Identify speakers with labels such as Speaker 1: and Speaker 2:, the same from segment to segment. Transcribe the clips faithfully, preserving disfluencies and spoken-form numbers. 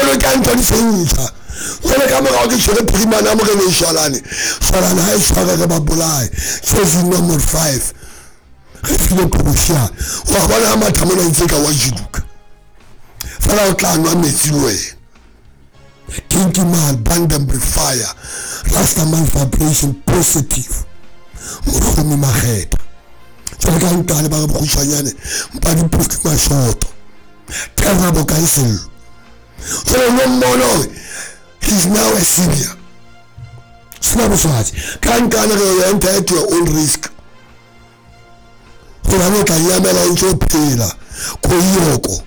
Speaker 1: Jwalo ka ntho di sentjha. Jwale ka morao ke tshwere phirimana moreneng Shwalane. Shwalane ha e tshware re ba bolaye. Jersey number five. Re file Qhobosheane. Wa bona ha matha mona ntse ka wa jiduka. Fela o tla nwa metsi le wena. Kinky man, Vandenberg fire. Rastaman vibration positive. Mohlomi Makgetha. Jwale ka nkane ba re bokgutshwanyane mpa diphofu mashoto. Terra bokansello. Jwale no mmona hore he's now a senior. Sena boswatsi. Ka nkane re enter at your own risk. Hobane o tla nyamela o ntse o phela. Koiyoko.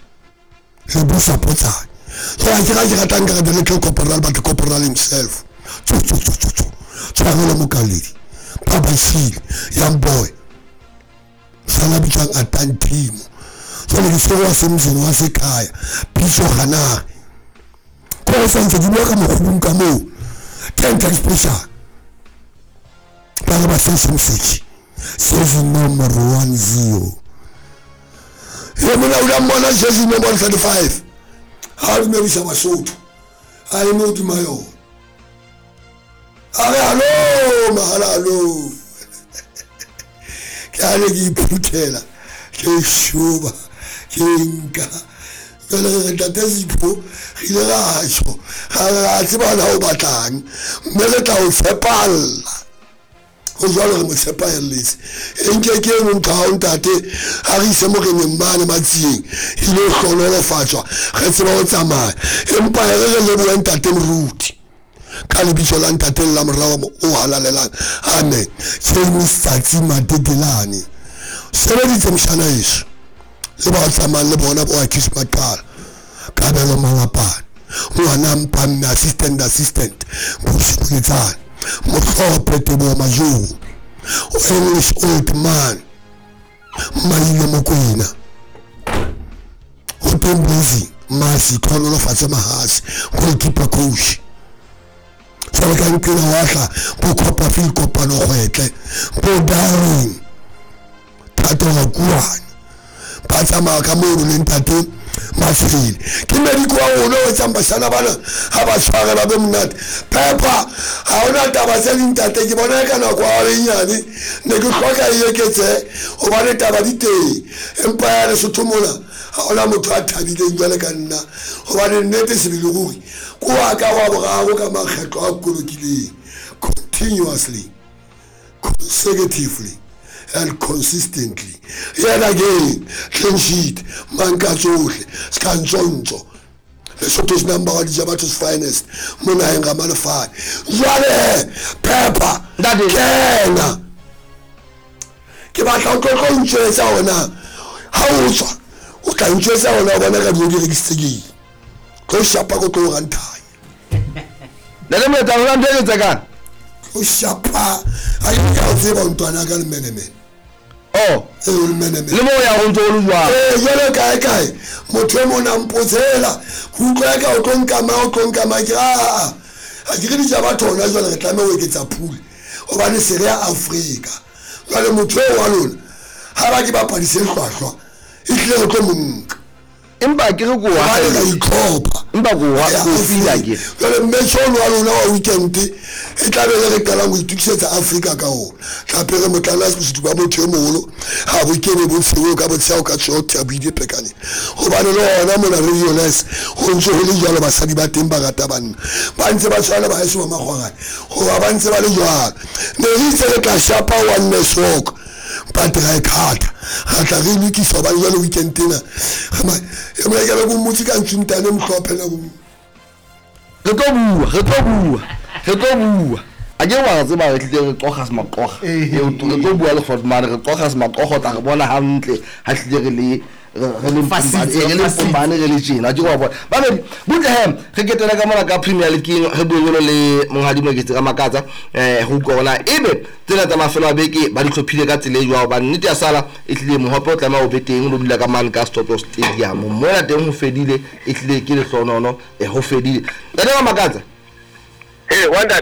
Speaker 1: Le busa potsane. So I think I ratang ka the little corporal but the corporal himself. Tsu tsu tsu tsu tsu. Tshwarelo Mokaledi. Papa Seal, young boy. Sana bitswang Atantimo. Jwale ke tshwere wa semzeng wa sekhaya. Pitso Ganare. Ko santse di bua ka mokgobong ka moo. Ten times pressure. Ba re ba se moseki. Season number one zero. Ye mona o la mmona jersey number thirty-five. Ha dumedisa Basotho. A eme hodima yona. A re hallo, mahala hallo. Ke a le ke iphuthela, ke shoba, ke nka. Jwale re re ntate Sipho, re ile ra tjho, ra re ra tseba na o batlang, mme re tla o tshepalla. Ho jwalo re mo tshepahelletse. E nke ke eno ntho ya hao ntate, ha re ise moreneng mane Matsieng, ile hlohonolofatswa, re tseba ho tsamaya. Empa re re lebohe ntate Moruti. Ka lebitso la ntate le la morao o halalelang. Amen. James Tsatsi Matetelane. Sebeditse mshana heso. Le ba tsamayang le bona bo Akis Maqala. Kabelo Malapane. Ngwana Mpamme assistant assistant. Bosukuletsane. Motlhope Teboho Majoro. English old man. Maile Mokoena. Ho teng Blazing Masi tlhonolofatse Mahase. Goalkeeper coach. Jwale ka nkela wa tla bo Copperfield kopano kgwetle bo Darling Thato Rakuane ba tsamaya ka mono le ntate Matshwele ke mediko wa rona o etsang bashana bana ha ba tshware ba be monate Pepper ha hona taba tse ding ntate ke bona ka nako ya e nyane ne ke hloka e eketsehe hobane taba di teng empa ya Lesotho mona ha hona motho a thabileng jwale ka nna hobane nnete sebele ruri ko wa ka wa boraro ka makgetlo a kolokileng continuously consecutively and consistently yet again clean sheet manka tsohle ska ntsontso Lesotho's number one Jabatho's finest mo naheng ga malefane jwale Pepper kena ke batla o tlo tlo ntjwetsa hona ha o tswa o tla ntjwetsa hona o bona ka dijo di rekisitse ke tlo shapa ko tlo ranthanya
Speaker 2: Ntate Moeta o ntho e tsekang
Speaker 1: o shapa ha ke ka tseba ntwana ka lemenemene
Speaker 2: oh
Speaker 1: e o lemenemene
Speaker 2: le mo ya go ntse o le jwang
Speaker 1: eh jwale kae kae motho e mona mpotsela go utlwa ka o tlo nkama o tlo nkama ke a ha ke re ditaba thona jwale re tlameha ho eketsa pool hobane se re ya Afrika jwale motho eo wa lona ha ba ke bapadise hlwahlwa e tlile ho tlo monka
Speaker 2: empa ke re ko wa
Speaker 1: ka itlhopha
Speaker 2: empa ko wa ko fila ke
Speaker 1: jwale mme tjhono wa lona wa weekend e tla be re qalang ho itokisetsa Afrika ka ona tlape re motlala bositu ba motho e moholo ha bo kene bo tsheo ka botsheo ka tsheo ya buile pekane hobane le hona mona re realize ho ntse ho le jwalo basadi ba teng ba rata banna ba ntse ba tshwana ba heso ba makgwakgwane hoba ba ntse ba le jwalo ne re itse re tla shapa one network but re khata ra tla re lokisa hobane jwale weekend ena e mona ke be ko mmotse ka ntsuntane mohlophe nako
Speaker 2: re tlo bua re tlo bua re tlo bua a ke wa tseba re tlile re qoga se maqoga re tlo bua le Fortman re qoga se maqoga tla re bona hantle ha tlile re le re le re le Mpombane re le tjena ke wa bona ba be butle he re ketela ka mona ka Premier League re bue le monghadi Moketsi ka Makatsa eh ho utlwa hore ebe tsena tsa mafelo a beke ba di hlophile ka tsela e jwang hobane nnete ya sala e tlile mohope o tlameha o be teng o dula ka mane ka Stop Stadium mona teng ho fedile e tlile ke lehlonono e ho fedile ntate wa Makatsa
Speaker 3: eh wanda